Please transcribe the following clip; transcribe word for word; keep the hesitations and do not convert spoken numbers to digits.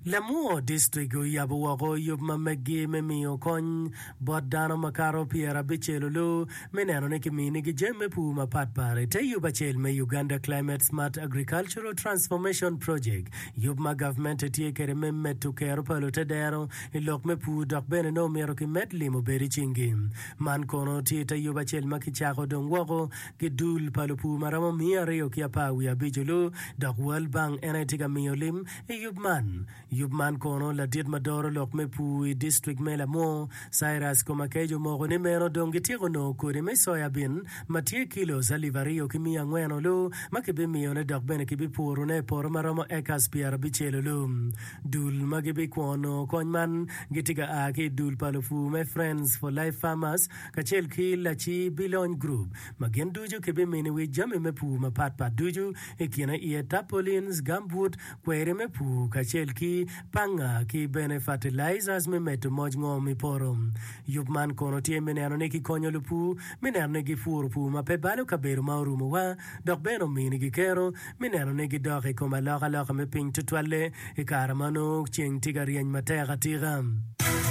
Lamwor District oyabo woko yub ma meggi me miyo kony bot dano makato pyerabicel olu me neno ni kiminigi jami me pur mapatpat i te yub acel me Uganda Climate Smart Agricultural Transformation Project, yub ma gavmente tye kwede me medo kero pa lutedero i lok me pur dok bene nongo myero kimed lim obed i cinggi. Man kono tye i te yub acel ma kicako dong woko ki dul pa lupur ma romo miya aryo ki apar wiye abic olu dok World Bank en aye tye ka miyo lim i yub man. Yub man kono ladit ma doro lok me pur i distrik me Lamwor, Cyrus Komakech omoko ni meno dong gityeko nongo kodi me soya bin ma tye kilos alip aryo ki miya angwen olu ma kibimiyone dok bene kibipurone i poto ma romo acres pyerabicel olu. Dul ma gibikwongo nongo kony man gitye ka a ki i dul pa lupur me Friends for Life Farmers kacel ki Laci Bilony Group ma gin ducu kibiminiwi jami me pur mapatpat ducu i kine iye tarpaulins, gumboot, kweri me pur kacel ki panga ki bene fertilizers me medo moc ngom i poto. Yub man kono tye me neno ni kikonyo lupur me neno ni gipuro pur ma pe balo kabedo ma orumowa dok bene ominigi kero me neno ni gidok i kom alokaloka me piny tutwalle i kare ma nongo ceng tye ka ryeny matek atika.